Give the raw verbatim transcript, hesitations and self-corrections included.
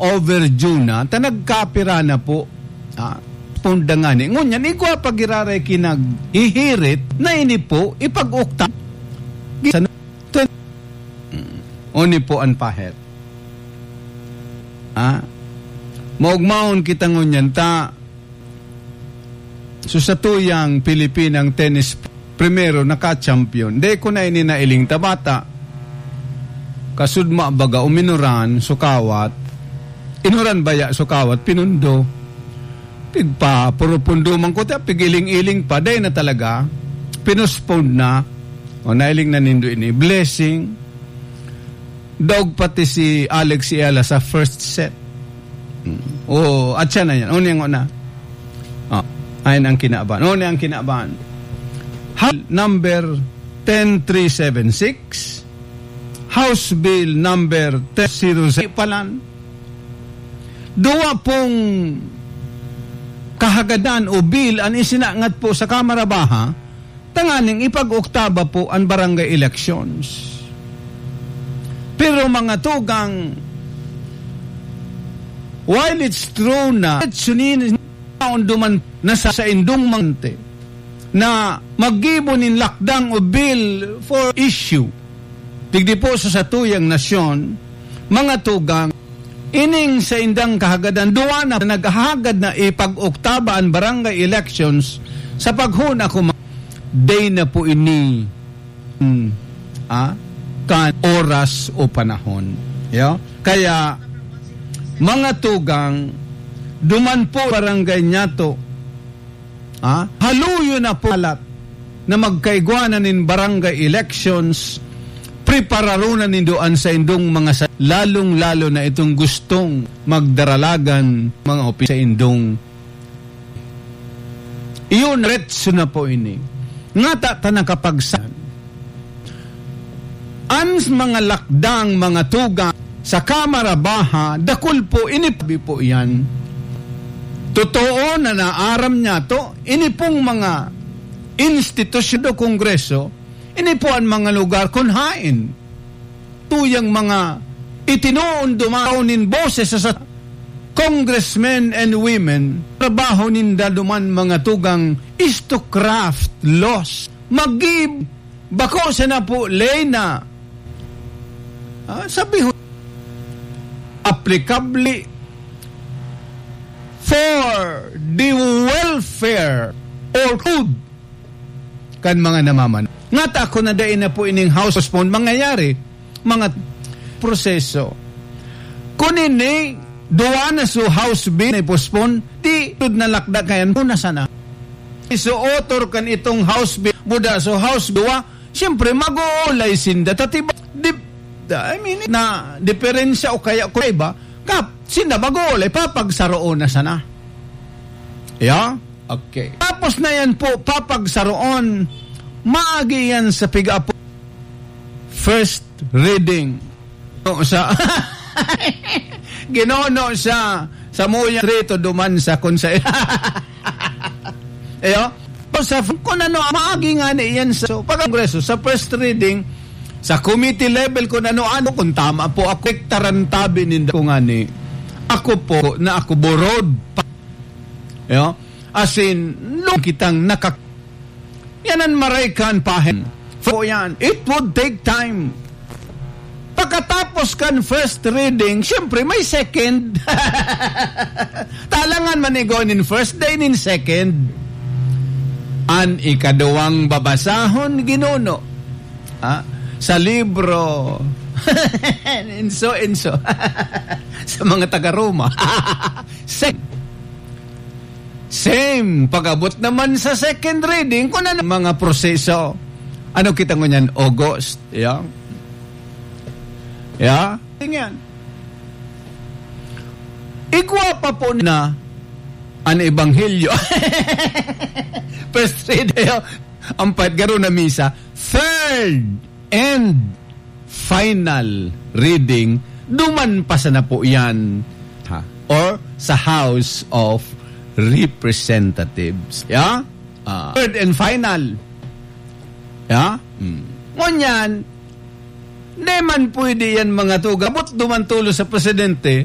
overdue na, ta nagkapira na po. Ah, punda nga ni. Ngunyan, igwa pa giraray kinaghihirit na ini po, ipag-ukta. Sa, o ni po an pahet. Ah, maugmaon kita ngunyan, ta, so, sa tuyang Pilipinang tennis, primero naka-champion. Dai ko na ini nailing ta bata. Kasudma baga, uminoran, sukawat. Inoran baya, sukawat, pinundo. Pigpa, puro pundo man ko, ta, pigiling-iling pa. Dai na talaga. Pinospone na. O, nailing na nindo ini. Blessing. Daog pati si Alex Eala sa first set. Mm. O, at siya na yan. Unyang una. Ah, ayan ang kinaban. Unyang kinaban. House number ten three seven six, House Bill number ten zero zero palan. Duwa pong kahagadan o bill an isinangat po sa Kamara Baha, tanganing ipag-oktaba po an barangay elections. Pero mga tugang, while it's true na sunini taon duman na sa, sa indong mante na maggibo nin lakdang o bill for issue, digdi po sa satuyang nasyon, mga tugang, ining saindang kahagadan, duwa na naghahagad na ipag-oktaba an barangay elections sa paghuna ko ma-, day na po ini, hmm, ah, kan oras o panahon. Yo? Kaya, mga tugang, duman po barangay niyato, ah, haluyo na po alat na magkaigwa na nin barangay elections, prepararo na nindo an saindong mga sa-, lalong-lalo na itong gustong magdaralagan mga opi-, saindong. Iyon, retso na po ini. Ngata ta nakapagsan. An mga lakdang, mga tugang sa Kamara Baha, dakul po, ini po iyan. Totoo na naaram niya to, ini pong mga institusyon o kongreso, ini po ang mga lugar kun hain tuyang mga itinoon dumaon nin boses sa, sa congressmen and women, trabaho ninda duman, mga tugang, is to craft laws. Mag-give, bako sana po ley na, ah, sabi ho, applicable for the welfare or good kan mga namaman. Ngata ako na dai na po ining house postpone mangyayari, mga proseso. Kun ini, duwa na so house bill na i-postpone, di tud na lakda kayan muna sana. So, author kan itong house bill, buda so house duwa, siyempre, mag-uulay sinda. Tatiba, di, I mean, na diferensya o kaya kung iba, kap, sinda mag-uulay, papagsaroon na sana. Yeah? Okay. Tapos na yan po, papagsaroon, maagi yan sa piga-apo. First reading. No, sa, ginono sa, sa Muya Trito duman sa Konsay. Ayo? O sa, kung ano, maagi nga ni yan sa, so, pag-kongreso, sa first reading, sa committee level, kung ano-ano, kung tama po ako, tarantabi ninda ko nga ni, ako po, na ako borod. Yo? As in, nung kitang nakak-, yan ang maray kan pahen. So, yan, it would take time. Pagkatapos kan first reading, siyempre, may second. Talangan man igo nin first, day nin second. An ikaduwang babasahon, ginuno. Ha? Sa libro. Inso, inso. Sa mga taga Roma. Sec-, same. Pag-abot naman sa second reading, kung ano mga proseso. Ano kita ngunyan? August. Yeah? Yeah? Tingnan. Igwa pa po na an ebanghelyo. First reading, ang pagkaro na misa. Third and final reading, duman pa sana po yan, ha? Or sa House of Representatives. Yeah? Ah, third and final. Yeah? Hmm. Ngunyan, di man pwede yan, mga tugang. Abot duman tulo sa presidente,